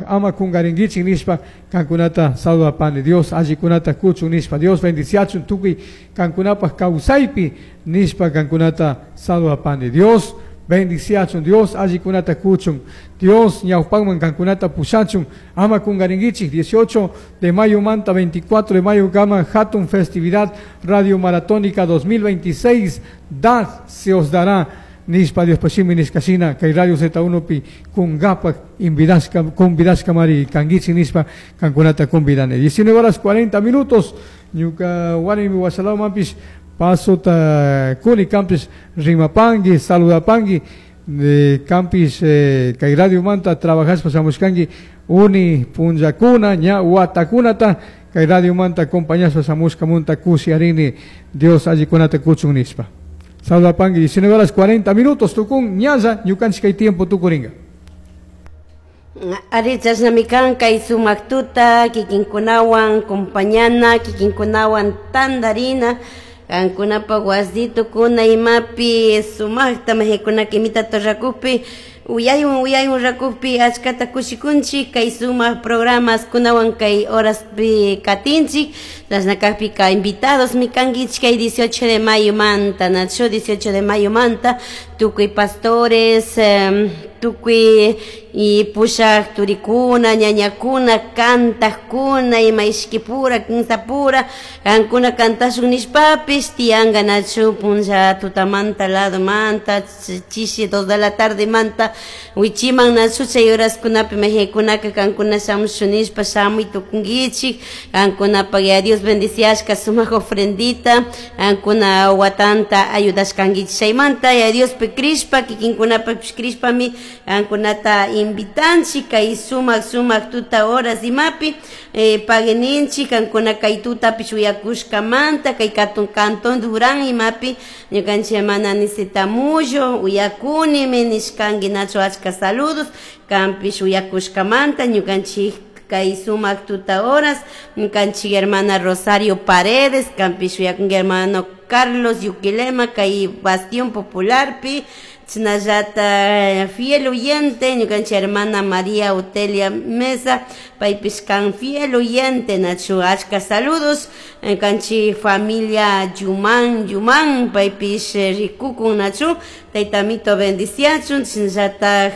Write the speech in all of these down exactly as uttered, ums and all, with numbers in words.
Ama kungarinkichik nishpa kankunata saludapani. Dios allikunata kuchun nishpa, Dios bendiciachun tukuy kankunapaj kawsaypi nishpa kankunata saludapani. Dios bendiciachun, Dios allikunata kuchun, Dios ñawpakman kankunata pushachun. Ama kungarinkichik, dieciocho de mayo manta veinticuatro de mayo kama hatun festividad Radio Maratónica dos mil veintiséis, dad, se os dará nishpa Dios pashimi nishkashina kay Radio Z uno pi kungapak invidashka convidashka mari kangichik nishpa kankunata convidani. diecinueve horas cuarenta minutos. Ñuka warmi washalawmanpish pasota kuni, kanpish rimapangi, saludapangi. eh, kanpish eh, kay radio manta trabajashpa shamushkanki uni punllakuna, ña watakunata kay radio manta acompañashpa shamushkamunta kushiyarini. Dios allikunata kuchun nishpa saludapangi. diecinueve horas cuarenta minutos tukun ñalla, ñukanchik kay tiempo tukuringa. Ari, chashnami kan kay sumak tuta kikinkunawan compañana, kikinkunawan tandarina, kankunapak wasitukuna imapi sumakta majikunaka imita rakukpi, uyaywan uyaywan rakukpi achkata kushikunchik. Kay sumak programas kunawan kay horaspi katinchik. Chashna kakpika invitados mi kankichik kay dieciocho de mayo manta, nachu, dieciocho de mayo manta tukuy pastores, eh, tukuy y pushak turikuna, ñañakuna, kantakkuna, ima ishkipura, kinsapura kankuna kantashun nishpapish tiyanka, nachu, punlla tutamanta lado manta chishi dos de la tarde manta wichiman, nachu. Chay horaskunapi majikunaka kankuna shamushun nishpa shamuy tukunkichik. Kankunapak ya Dios bendiciashka sumak ofrendita kankuna watanta ayudashkankichik, chaymanta ya Diospi crishpa, kikinkunapapish crishpami kankunata invitanchik kay sumak sumak tuta horas imapi eh, pagueninchik kankuna kay tutapish uyakushkamanta. Kay katun Cantón Durán imapi ñukanchik hermana Aniceta Mullo uyakunimi nishkanki, nachu. Achka saludos kanpish uyakushkamanta ñukanchik kay sumak tuta horas. Ñukanchik hermana Rosario Paredes kanpish uyakunki, hermano Carlos Yuquilema kay Bastión Popularpi, chashnallata fiel oyente ñukanchik hermana María Otelia Mesa, paypish kan fiel oyente, nachu. Achka saludos ñukanchik familia Yuman Yuman, paypish rikukun, nachu. Tayta Amito bendiciachun. Chashnallata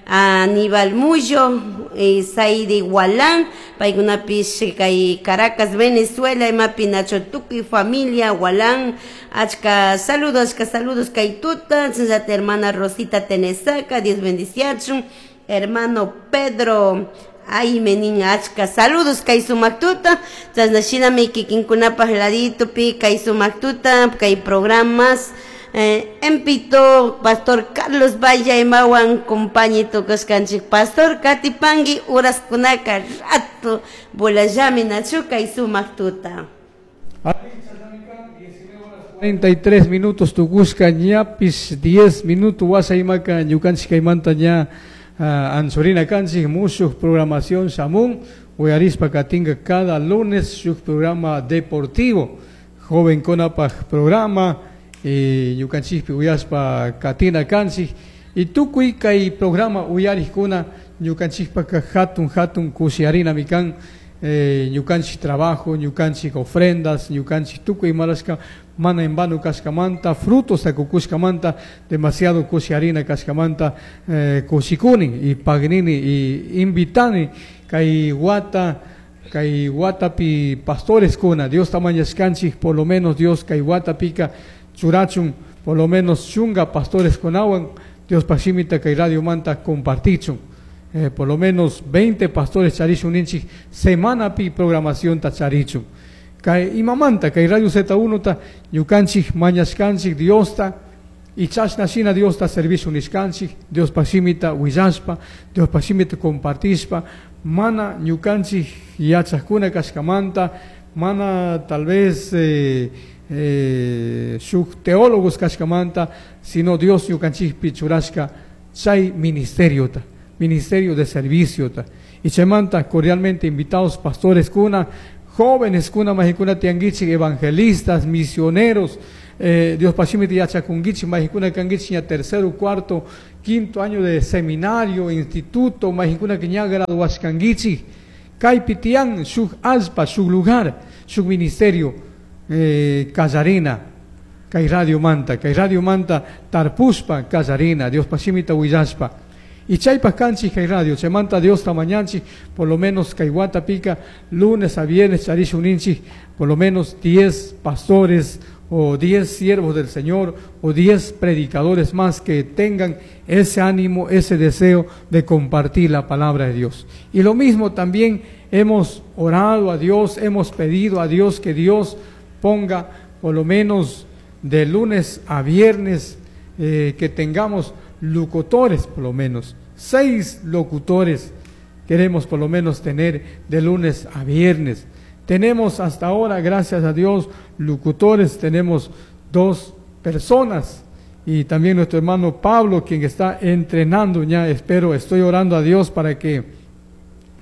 Aníbal Mullo, eh, Saidi Gualán, paykunapish kay Caracas, Venezuela imapi, nachu, tukuy familia Gualán, achka saludos, achka saludos kay tuta. Chashnallata hermana Rosita Tenesaca, Dios bendiciachun. Hermano Pedro ay menin, achka saludos kay sumak tuta. Chashna shinami kikinkunapak laditopi kay sumak tuta kay programas eh, Empito, Pastor Carlos Valle imawan compañi tukashkanchik. Pastor, katipangi, uraskunaka rato volallami, nachu, kay sumak tuta. cuarenta y tres minutos tukushka, ñapish diez minutos washa imaka ñukanchik kaymanta ña uh, anchurina kanchik. Mushuk programación shamun, uyarispa katinka cada lunes shuk programa deportivo, joven kunapaj programa, y ñukanchikpi uyashpa katina kanchik. Y tukuy kay programa uyarikkuna ñukanchikpaka hatun hatun kushiyarinami kan. eh, ñukanchik trabajo, ñukanchik ofrendas, ñukanchik tukuy imarashka mana en vano kashkamanta, frutos kukushkamanta demasiado kushiyarina kashkamanta eh, kushikuni y pagnini y invitani kay wata kay watapi pastores kuna Dios mañashkanchik, por lo menos Dios kay watapika churachun por lo menos chunga pastores kunawan Dios shimita kay radio manta compartichun. eh, por lo menos veinte pastores charishun ninchik semanapi programación ta charichun. Kay imamanta kay Radio Z uno ta ñukanchik mañashkanchik Diosta y chashna shina Diosta servicio nishkanchik, Dios shimita willashpa, Dios shimita compartishpa, mana ñukanchik yachakuna kashkamanta, mana tal vez eh, eh, shuk teólogos kashkamanta, sino Dios ñukanchikpi churashka chay ministerio ta, ministerio de servicio ta. Y chaymanta cordialmente invitados pastores kuna, jóvenes kuna, majikuna tiangichik, evangelistas, misioneros, eh, Dios pashimita yachakunkichik, mayqankuna kankichik ña tercero, cuarto, quinto año de seminario, instituto, mayqankuna que ña graduashkankichik, kaypi tiyan shuk allpa, shuk lugar, shuk ministerio, eh, kallarina, kay radio manta, kay radio manta tarpushpa kallarina, Dios pashimita willashpa. Y chaypaj kanchik kay radio, chaymanta Diosta mañanchik, por lo menos kay watapika, lunes a viernes charishun ninchik, por lo menos diez pastores o diez siervos del Señor o diez predicadores más que tengan ese ánimo, ese deseo de compartir la palabra de Dios. Y lo mismo también hemos orado a Dios, hemos pedido a Dios que Dios ponga por lo menos de lunes a viernes, eh, que tengamos locutores, por lo menos seis locutores queremos por lo menos tener de lunes a viernes. Tenemos hasta ahora, gracias a Dios, locutores, tenemos dos personas y también nuestro hermano Pablo, quien está entrenando ya, espero, estoy orando a Dios para que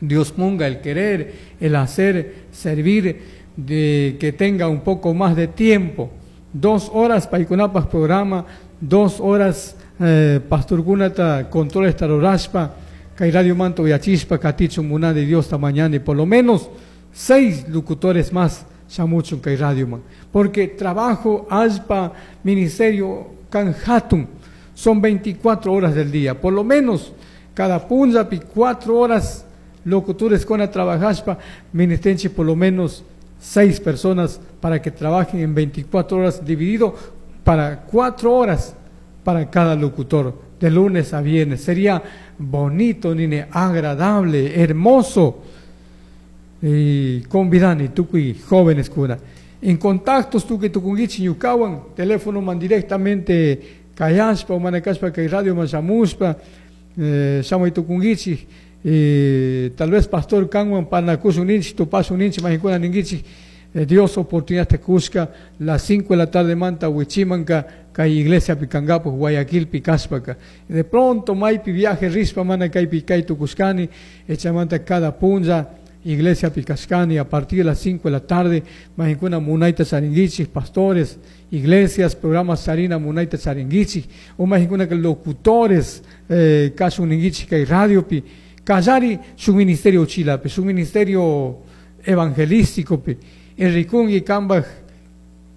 Dios ponga el querer, el hacer, servir, de que tenga un poco más de tiempo. Dos horas paykunapaj programa, dos horas eh, pastorkunata control rurashpa, kay radio manta uyachishpa, katichun munani Diosta mañani, por lo menos seis locutores más shamuchun kay radio man. Porque trabajo, allpa, ministerio, kan hatun, son veinticuatro horas del día, por lo menos cada punllapi cuatro horas locutores con trabajashpa, ministerio por lo menos seis personas para que trabajen en veinticuatro horas, dividido para cuatro horas para cada locutor, de lunes a viernes. Sería bonito, nene, agradable, hermoso. Y convidani, tukuy jóvenes kuna. En contactos tukuy tukunkichik ñukawan, teléfono man directamente kayashpa, manakashpa kay radio man shamushpa, eh, shamuy tukunkichik, eh, tal vez pastor kanwan parlakushun ninchik, tupashun ninchik, mayqankuna ninkichik, eh, Dios oportunidad te kushka, las cinco de la tarde manta wichimanka, kay iglesia pikangapu, Guayaquil pikashpaka. De pronto maypi viaje rishpa mana kaypi kay tukushkani, echamanta cada punlla, iglesia pikashkani, a partir de las cinco de la tarde, mayqankuna munayta charinkichik, pastores, iglesias, programas charina munayta charinkichik, o mayqankuna locutores, eh, kashun ninkichik kay radiopi, kallari su ministerio chilapi, su ministerio evangelístico pi, rikunki kambaj,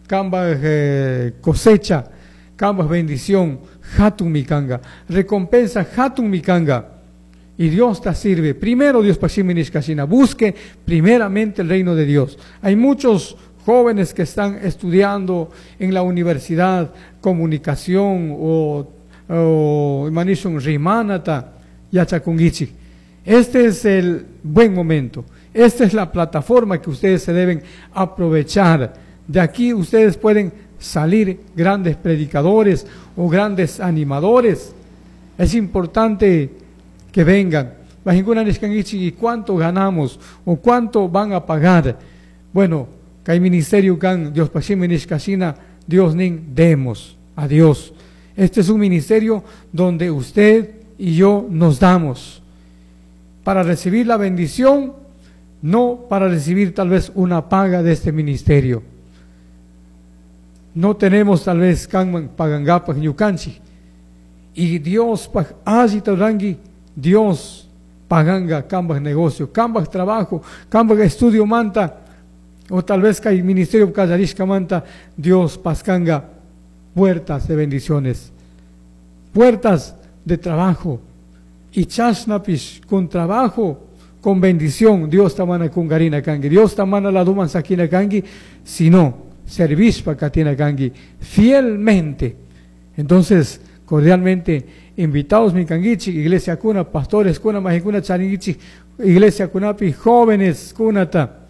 kambaj, eh, cosecha, kambaj bendición, hatun mikanga, recompensa hatun mikanga. Y Dios te sirve. Primero Dios pashimi nishkashina, busque primeramente el reino de Dios. Hay muchos jóvenes que están estudiando en la universidad comunicación o, o imanishun rimanata yachakunkichik. Este es el buen momento. Esta es la plataforma que ustedes se deben aprovechar. De aquí ustedes pueden salir grandes predicadores o grandes animadores. Es importante que vengan. Mayqankuna nishkankichik, ¿y cuánto ganamos o cuánto van a pagar? Bueno, kay ministerio kan Dios pashimi nishkashina, Dios nin demos a Dios. Este es un ministerio donde usted y yo nos damos para recibir la bendición, no para recibir tal vez una paga de este ministerio. No tenemos tal vez kanman pagankapaj ñukanchik. Y Dios paj allita ruranki, Dios paganga kambaj negocio, kambaj trabajo, kambaj estudio manta, o tal vez kay ministerio kallarishka manta, Dios paskanga puertas de bendiciones, puertas de trabajo. Y chashnapish con trabajo, con bendición, Dios tamana kungarina kanki, Dios tamana la duman sakina kanki, sino servishpa katina kanki, fielmente. Entonces, cordialmente invitados mi kankichik, iglesia kuna, pastores kuna, mayqankuna charinkichik, iglesia kunapi, jóvenes kunata.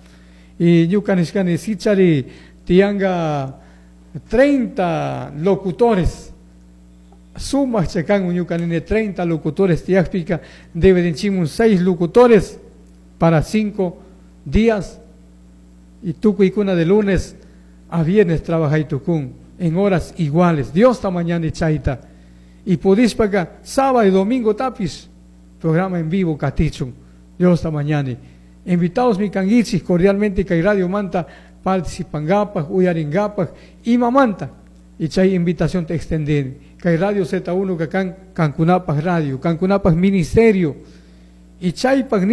Y ñuka nishkani sichari tianga treinta locutores. Sumaq chakan ñuka nini treinta locutores tiyakpika, deben seis locutores para cinco días. Y tukuykuna de lunes a viernes trabajay tukun en horas iguales. Dios ta mañana chayta. Y pudishpaka sábado y domingo tapis, programa en vivo katichun. Dios ta mañana. Invitados mi kankichik cordialmente kay Radio Manta participangapak, uyaringapak, imamanta. Y chay invitación te extender. Kay Radio Z uno kan kankunapaj radio, kankunapaj ministerio. Y chaypaj